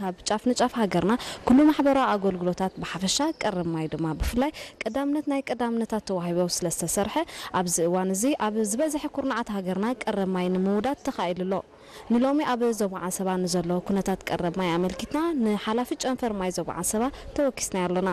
ካብ ጫፍ ንጫፍ ሃገርና ኩሉ ማሕበራዊ ኣገልግሎታት ብሓፈሻ፣ ቀረብ ማይ ድማ ብፍላይ ቀዳምነት ናይ ቀዳምነታት ተዋሂቦ ስለ ዝተሰርሐ፣ ኣብዚ እዋን እዚ ኣብ ዝበዝሐ ኩርናዓት ሃገርና ቀረብ ማይ ንምውዳድ ተኻኢሉ ኣሎ። ንሎሚ ኣብ ዞባ ዓሰባ ንዘሎ ኩነታት ቀረብ ማይ ኣመልኪትና ንሓላፊ ጨንፈር ማይ ዞባ ዓሰባ ተወኪስናዮ ኣሎና።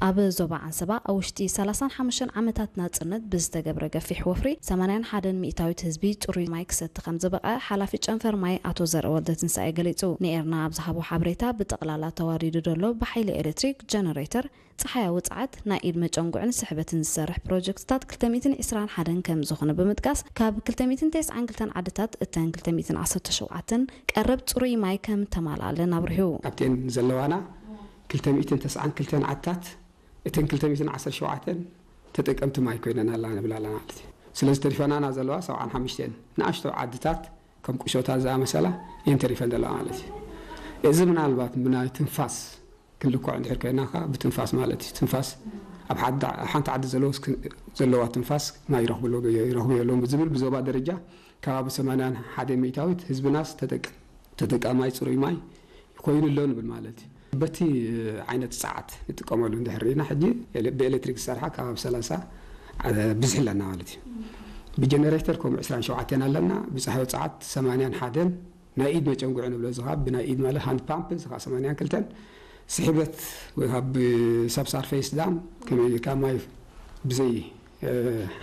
ኣብ ዞባ ዓሰባ ኣብ ውሽጢ ሰላሳን ሓሙሽተን ዓመታት ናጽነት ብዝተገብረ ገፊሕ ወፍሪ ሰማንያን ሓደን ሚእታዊት ህዝቢ ጽሩይ ማይ ክሰቲ ከም ዝበቕዐ ሓላፊ ጨንፈር ማይ ኣቶ ዘርአ ወልደትንሳኤ ገሊጹ። ንኤርና ኣብ ዝሃቦ ሓበሬታ፣ ብጠቕላላ ተዋዲዱ ዘሎ ብሓይሊ ኤሌክትሪክ፣ ጀነሬተር፣ ጸሓያዊ ጸዓት፣ ናይ ኢድ መጨንጉዕን ስሕበትን ዝሰርሕ ፕሮጀክትታት ክልተ ሚእትን ዕስራን ሓደን ከም ዝኾነ ብምጥቃስ፣ ካብ ክልተ ሚእትን ተስዓን ክልተን ዓድታት እተን ክልተ ሚእትን ዓሰርተ ሸውዓተን ቀረብ ጽሩይ ማይ ከም ተማልኣለን ኣብሪሁ። ካብተን ዘለዋና ክልተ ሚእትን ተስዓን ክልተን ዓድታት፣ እተን ክልተ ሚእትን ዓሰርተ ሸውዓተን ተጠቀምቲ ማይ ኮይነን ኣላ ንብል ኣለና ማለት እዩ። ስለዚ ተሪፈናና ዘለዋ ሰብዓን ሓሙሽተን ንኣሽቶ ዓድታት፣ ከም ቁሸታት ዝኣመሰላ እየን ተሪፈን ዘለዋ ማለት እዩ። እዚ ምናልባት ብናይ ትንፋስ ክንልክዖ እንድሕር ኮይና ከኣ ብትንፋስ ማለት እዩ። ትንፋስ ኣብ ሓንቲ፣ ሓንቲ ዓዲ ዘለዎስ ክ-፣ ዘለዋ ትንፋስ ማይ ይረኽብሉ፣ ይረኽቡ የለውን ብዝብል ብዞባ ደረጃ ከባቢ ሰማንያን ሓደን ሚእታዊት ህዝብናስ ተጠቅ-፣ ተጠቃማይ ጽሩይ ማይ ኮይኑ ኣሎ ንብል ማለት እዩ። በቲ ዓይነት ጸዓት ንጥቀመሉ እንድሕር ርኢና፣ ሕጂ ኤለ-፣ ብኤሌክትሪክ ዝሰርሓ ከባቢ ሰላሳ ብዝሒ ኣለና ማለት እዩ። ብጀነሬተር ከምኡ ዕስራን ሸውዓተን ኣለና። ብጸሓያዊ ጸዓት ሰማንያን ሓደን፣ ናይ ኢድ መጨንጉዒ ንብሎ፣ እዚ ኸኣ ብናይ ኢድ ማለት ሃንድ ፓምፕ፣ እዚ ኸኣ ሰማንያን ክልተን፣ ስሕበት ወይ ካብ ሳብሳርፌስ ዳም፣ ከመይ ኢልካ ማይ ብዘይ፣ እ፣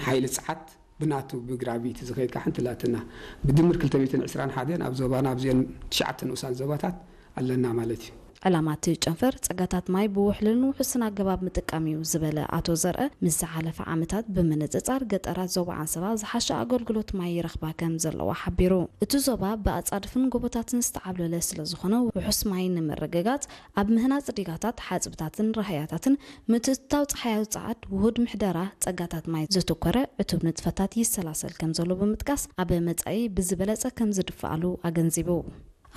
ሓይሊ ጸዓት ብናቱ ብግራቪቲ ዝኸይድ ከኣ ሓንቲ ኣላትና። ብድምር ክልተ ሚእትን ዕስራን ሓደን ኣብ ዞባና ኣብዚአን ትሽዓተ ንኡሳን ዞባታት ኣለና ማለት እዩ። ዕላማ እቲ ጨንፈር ጸጋታት ማይ ብውሕሉልን ውሑስን ኣገባብ ምጥቃም እዩ ዝበለ ኣቶ ዘርአ፣ ምስ ዝሓለፈ ዓመታት ብምንጽጻር ገጠራት ዞባ ዓሰባ ዝሓሸ ኣገልግሎት ማይ ይረኽባ ከም ዘለዋ ሓቢሩ። እቲ ዞባ ብኣጻድፍን ጎቦታትን ዝተዓብለለ ስለ ዝኾነ፣ ውሑስ ማይ ንምርግጋጽ ኣብ ምህናጽ ዲጋታት፣ ሓጽብታትን ራህያታትን ምትእትታው ጸሓያዊ ጸዓት፣ ውሁድ ምሕደራ ጸጋታት ማይ ዘተኮረ ዕቱብ ንጥፈታት ይሰላሰል ከም ዘሎ ብምጥቃስ፣ ኣብ መጻኢ ብዝበለጸ ከም ዝድፍኣሉ ኣገንዚቡ።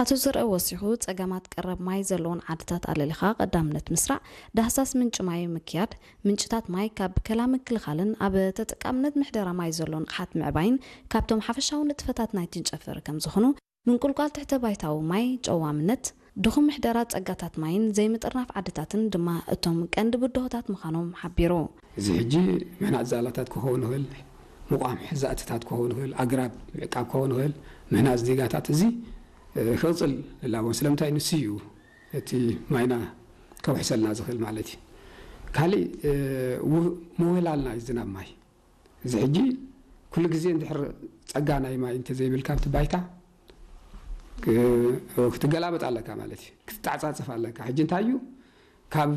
ኣቶ ዘርአ ወሲኹ፣ ጸገማት ቀረብ ማይ ዘለዎን ዓድታት ኣለሊኻ ቀዳምነት ምስራዕ፣ ዳህሳስ ምንጪ ማይ ምክያድ፣ ምንጭታት ማይ ካብ ብከላ ምክልኻልን ኣብ ተጠቃምነት ምሕደራ ማይ ዘሎ ንቕሓት ምዕባይን ካብቶም ሓፈሻዊ ንጥፈታት ናይቲ ጨንፈር ከም ዝኾኑ፣ ምንቁልቋል ትሕተ ባይታዊ ማይ፣ ጨዋምነት፣ ድኹም ምሕደራ ጸጋታት ማይን ዘይምጥርናፍ ዓድታትን ድማ እቶም ቀንዲ ብድሆታት ምዃኖም ሓቢሩ። እዚ ሕጂ ምህናጽ ዛላታት ክኸውን ይኽእል፣ ምቋም ሕዛእትታት ክኸውን ይኽእል፣ ኣግራብ ምዕቃብ ክኸውን ይኽእል፣ ምህናጽ ዲጋታት፣ እዚ፣ እ፣ ክቕጽል እላቦ። ስለምንታይ? ንሱ እዩ እቲ ማይና ከውሕሰልና ዝኽእል ማለት እዩ። ካሊእ፣ እ፣ ው-፣ ምውህላልና እዩ ዝናብ ማይ። እዚ ሕጂ ኩሉ ግዜ እንድሕር ጸጋ ናይ ማይ እንተዘይብልካ ኣብቲ ባይታ፣ እ፣ ክትገላበጥ ኣለካ ማለት እዩ። ክትተዓጻጸፍ ኣለካ። ሕጂ እንታይ እዩ? ካብ